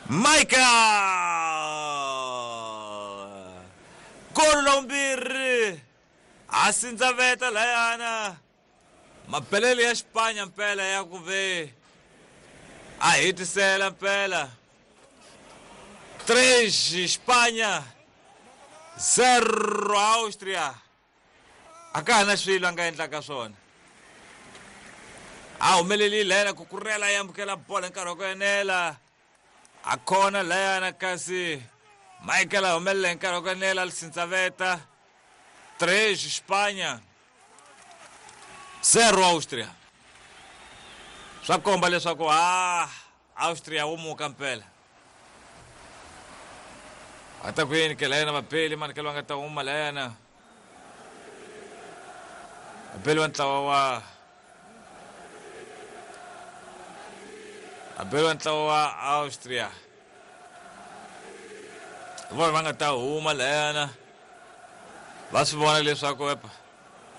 Michael! Golo la vumbirhi a sindzaveta layana mapelele ya Xipanya mpela ya ku ve a hetisela mpela 3 Xipanya 0 Austria. A ka ha na swilo a nga endlaka swona. A humelelile layana ku kurela ya amukela bolo hi nkarhi wa ku enela. A khona layana kasi Michael a humelela hi nkarhi wa ku enela Lisintsaveta 3 Xipanya 0 Austria. Swa komba leswaku ha Austria wo muka mpela. A ta ku yini ke layana vabeli mani ke va nga ta huma layana. Vabeli va ntlawa wa Vabeli va ntlawa wa Austria. Hi vona va nga ta huma layana. Va swi vona leswaku epa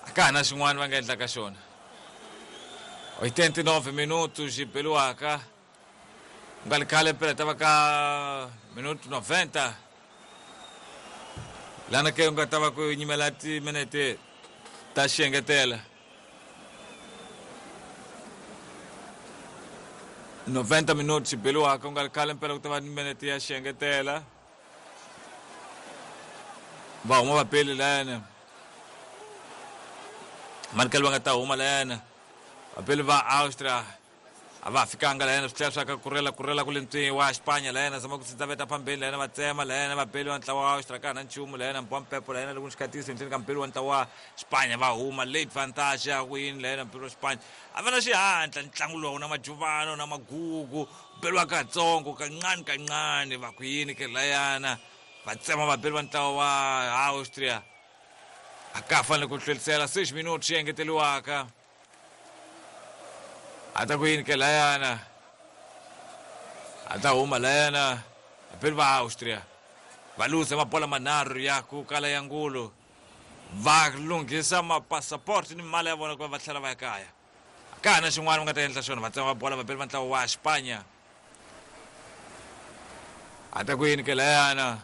a ka ha na xin'wana va nga endlaka xona. 89 minutos xi beliwaka. Ku nga ri khale mpela ta va ka minuto 90 lana ke u nga ta va ku nyimela timinete ta xiengetela 90 minuto xi beliwaka ku nga ri khale mpela ku ta va ni minete ya xiengetela va huma va peli layana manikelo va nga ta huma layana vapeli va Austria a va ha fikanga layana swi tlhela swa ka kurela kurela ku le ntswini wa Xipanya layana zama ku tsitsaveta phambeni layana va tsema layana vapeli va ntlawa wa Austria ka ha na nchumu layana mbwa mpepo layana loko ni xikhatisi henhleni ka mpeli wa ntlawa wa Xipanya va huma late vantage ya ku yini layana mpeli wa Xipanya a va na xihatla ntlangu lowu na majuvano na magugu beliwa katsongo kancane kancane va ku yini ke layana va tsema vabeli va ntlawa wa Austria a ka ha fanele ku hlwelisela 6 minuti xi engeteriwaka a ta ku yini ke layana a ta huma layana vabeli va Austria va luza mabola manharhu ya ku kala ya ngulu va lunghisa mapasaport ni mali ya vona ku va va tlhela va ya kaya ka ha na xin'wana va nga ta endla xona va tsema bola vabeli va ntlawa wa Xipanya a ta ku yini ke layana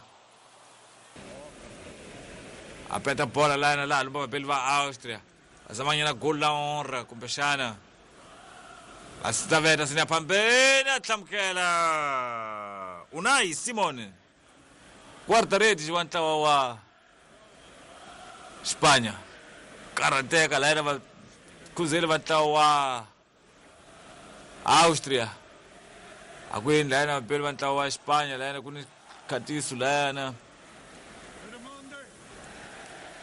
a peta bola layana laha lumba vabeli va Austria va zamanyana gol la honra kumbexana va sitaveta sini ya phambeni a tlhamukela Unai Simon guarda-redes wa ntlawa wa Xipanya karhateka layena va khuzeli va ntlawa wa Austria a ku yini layena vapeli va ntlawa wa Xipanya layena ku ni khatiso layana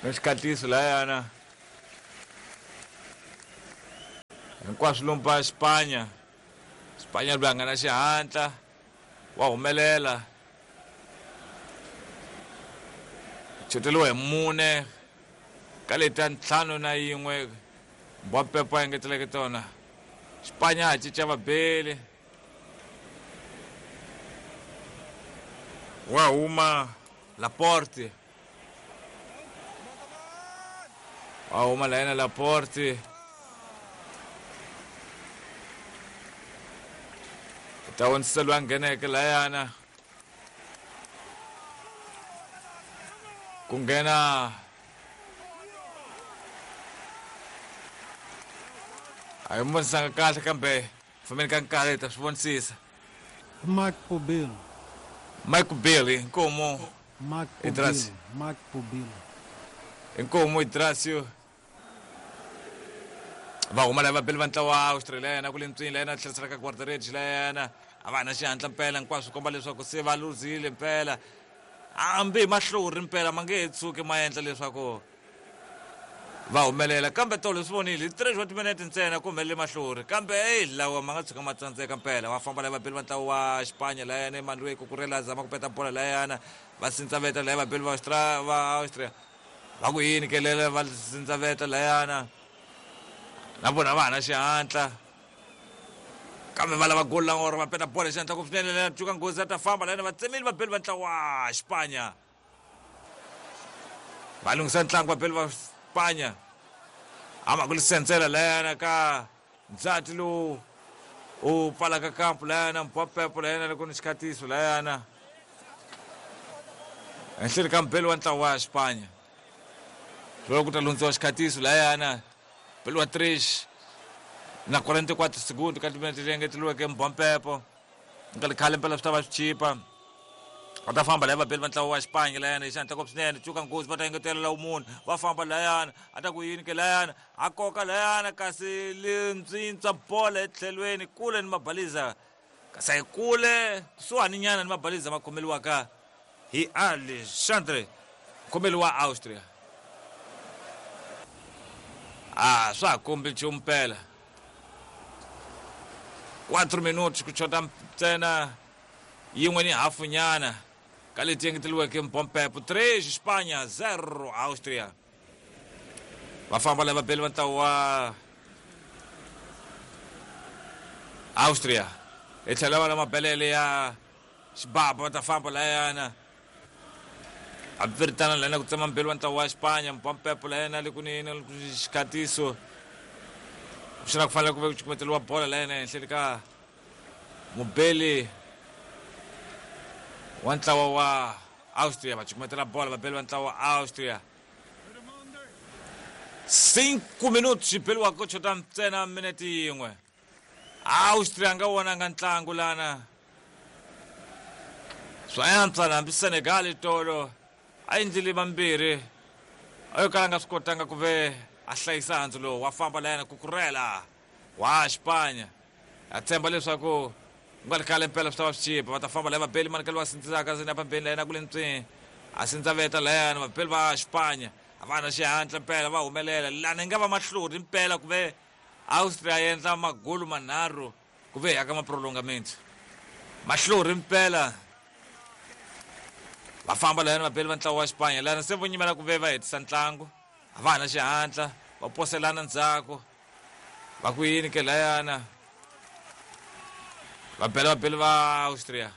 na xikhatiso layana hinkwaswo lomba Xipanya Xipanya loyi a nga na xihatla wa humelela choteriwa hi mune ka leta ntlhanu na yin'we mbwa pepo a engeteleke tona Xipanya ha cinca vabeli wa huma Laporte wa huma la yena Laporte ta vonisisa loyi a ngheneke layana ku nghena a hi vonisanga kahle kambe fambeni ka nkarhi hi ta swi vonisisa Mark Pubill. Mike Billy inkomu Mark Idrasi. Pubill. Mark Pubill. Inkomu Idrasio va huma lava beli va ntlawa wa Australia yena ku le ntswini la yena tlherisela ka guarda-redes la yena a va ha na xihatla mpela hinkwaswo komba leswaku se va luzile mpela hambi hi mahlori mpela ma nge he tshuki ma endla leswaku va humelela kambe tolo swi vonile hi 3 wa timinete ntsena ku humelele mahlori kambe eyi lawa ma nga tshuka ma tsandzeka mpela va famba lava vabeli va ntlawa wa Xipanya layana Emmanuel Cucurella zama ku peta bola layana va sindzaveta laya vabeli va va Austria va ku yini kelele va sindzaveta layana na vona va ha na xihatla kambe va lava goli langoro va peta bola xihatla ku swinene lena cuka nghozi a ta famba layana va tsemile vabeli va ntlawa wa Xipanya va lunghisa ntlangu vabeli va Xipanya ama ku lisentsela layana ka ndzati lowu U pfalaka kampu layana mpwapwepo layana loko ni xikhatiso layana ehenhleni ka mubeli wa ntlawa wa Xipanya. Loko ku ta lundziwa xikhatiso layana beli wa 3 na 44 segundo ka timinete leyi engeteliweke mbwampepo nkarhi khale mpela swi ta va swi chipa. Va ta famba laya vabeli va ntlawa wa Xipanya layana hi xihatla ngopfu swinene cuka nghozi va ta engetela lawu munhu va famba layana a ta ku yini ke layana a koka layana kasi lintswintswa bolo etlhelweni kule ni mabaliza kasi a yi kule kusuhani nyana ni mabaliza ma khomeliwaka hi Alexandre mukhomeli wa Austria. A swa ha kombi nchumu mpela 4 minuti ku chota ntsena yin'we ni hafu nyana ka leti engeteliweke mpompepo 3 Xipanya 0 Austria. Va famba lava beli va ntlawa wa Austria hi tlhela va na mabelele ya xibaba va ta famba layana hambiswiritano layana ku tsema mbeli wa ntlawa wa Xipanya mpompepo layana le kunene xikhatiso xana ku fanele ku ve ku cukumeteliwa bola layana ehenhleni ka mubeli wa ntlawa wa Austria. Va cukumetela bola vabeli va ntlawa wa Austria 5 minuti xi beliwaka ku chota ntsena minete yin'we. Austria a nga vonanga ntlangu lana swa antswa hambi Senegal tolo a endlile vambirhi a yo kala a nga swi kotanga ku ve a hlayisa handzu lowu wa famba layana kukurela wa Xipanya. A tshemba leswaku ku nga ri khale mpela swi ta va swi chipa. Va ta famba laya vabeli manikelo va sindzisaka ndzeni apambeni layana ku le ntswini a sindzaveta layana vabeli va Xipanya a va na xihatla mpela va humelela lana yi nga va mahlori mpela ku ve Austria yi endla magolu manharhu ku ve ya ka maprolongamento mahlori mpela va famba layana vabeli va ntlawa wa Xipanya lana se vo nyimela ku ve va hetisa ntlangu a va ha na xihatla va poselana ndzhaku va ku yini ke layana va bela vabeli va Austria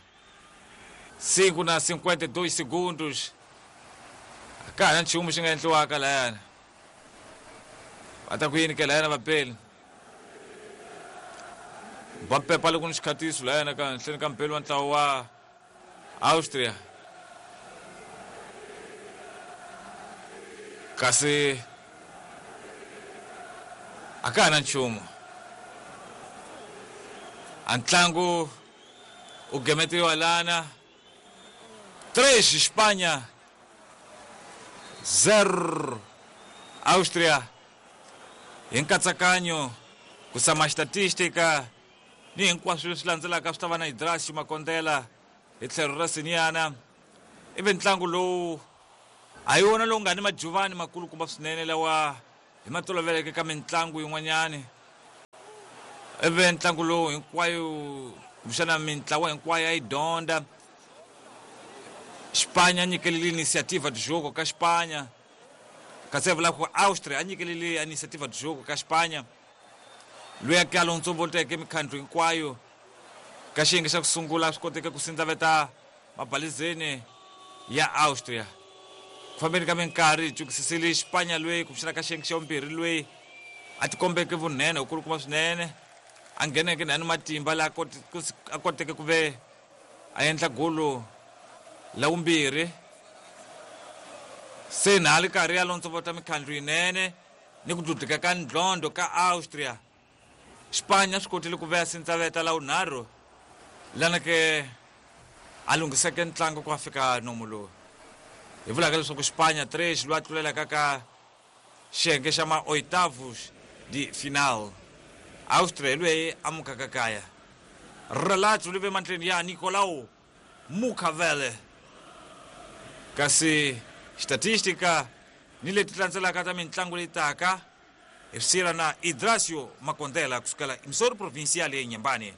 5 na 52 segundos a ka ha na nchumu xi nga endliwaka layana va ta ku yini ke layana vabeli ba pepa loko ni xikhatiso layana ka henhleni ka mubeli wa ntlawa wa Austria kasi a ka ha na nchumu a ntlangu u gemetiwa lana 3 Xipanya 0 Austria hi nkatsakanyo ku sama xitatistika ni hinkwaswo leswi landzelaka swi ta va na Idrasi Makondela hi tlhelo ra Siniana. Ivi ntlangu lowu a hi wona lowu nga ni majuvani makulukumba swinene lawa hi ma toloveleke ka mintlangu yin'wanyani. Ivi ntlangu lowu hinkwayo kumbexana mintlawa hinkwayo a yi dyondza. Xipanya a nyikelile inisiativa de jogo ka Xipanya, kasi a vula ku Austria a nyikelile inisiativa de jogo ka Xipanya. Loyi a ke a lontsovoteke mikhandlu hinkwayo ka xiyenge xa ku sungula swi koteke ku sindzaveta mabalizeni ya Austria. Ku fambeni ka minkarhi hi cukisisile Xipanya loyi kumbexana ka xiyenge xa vumbirhi loyi a tikombeke vunene wukulukumba swinene a ngheneke na ni matimba laha a koteke ku ve a endla golo la vumbirhi se na a ri karhi a lontsovota mikhandlu yinene ni ku dludlika ka ndlondlo ka Austria. Xipanya swi kotile ku veya sindzaveta la vunharhu lana ke a lunghiseke ntlangu ku a fika nomu lowu hi vulaka leswaku Xipanya 3 loyi a tlulelaka ka xiyenge xa ma oitavos de final. Austria hi loyi a mukaka kaya. Relato li ve mandleni ya Nicolau Mukavele. Kasi xitatistika ni leti landzelaka ta mintlangu leyi taka hi swi na Idrasio Makondela kusukela Missouri Provincial ya Inhambane.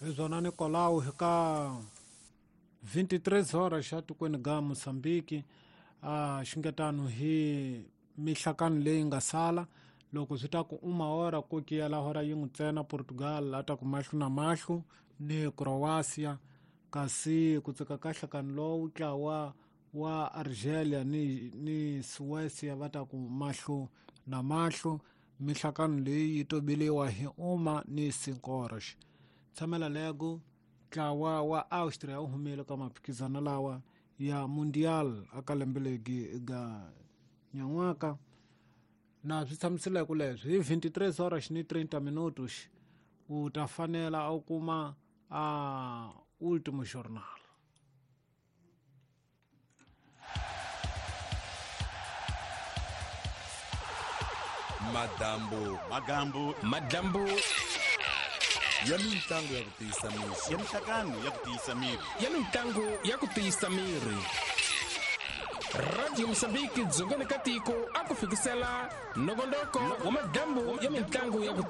Hi swona Nicolau hi ka 23 horas xa tikweni ga Mozambique a xingetano hi mihlakano leyi nga sala loko swi ta ku uma hora ku kiyela hora yin'we ntsena Portugal a ta ku mahlo na mahlo ni Croatia kasi ku tsika ka nhlakano lowu ntlawa wa Argelia ni Suecia va ta ku mahlo Na mahlo mihlakano leyi yi tobiliwa hi uma ni 5 horas. Tshamela lego ntlawa wa Austria wu humile ka maphikizano lawa ya Mundial aka lembe legi ga nyan'waka. Na swi tshamisileko leswi hi 23 horas ni 30 minutos u ta fanela u kuma a Último Jornal. Madambu magambu madlambu ya mintlangu ya ku tiyisa miri ya mihlakano ya ku tiyisa miri ya mintlangu ya ku tiyisa miri. Radio Mozambique dzongeni ka tiko a ku fikisela nongonoko wa madlambu ya mintlangu ya ku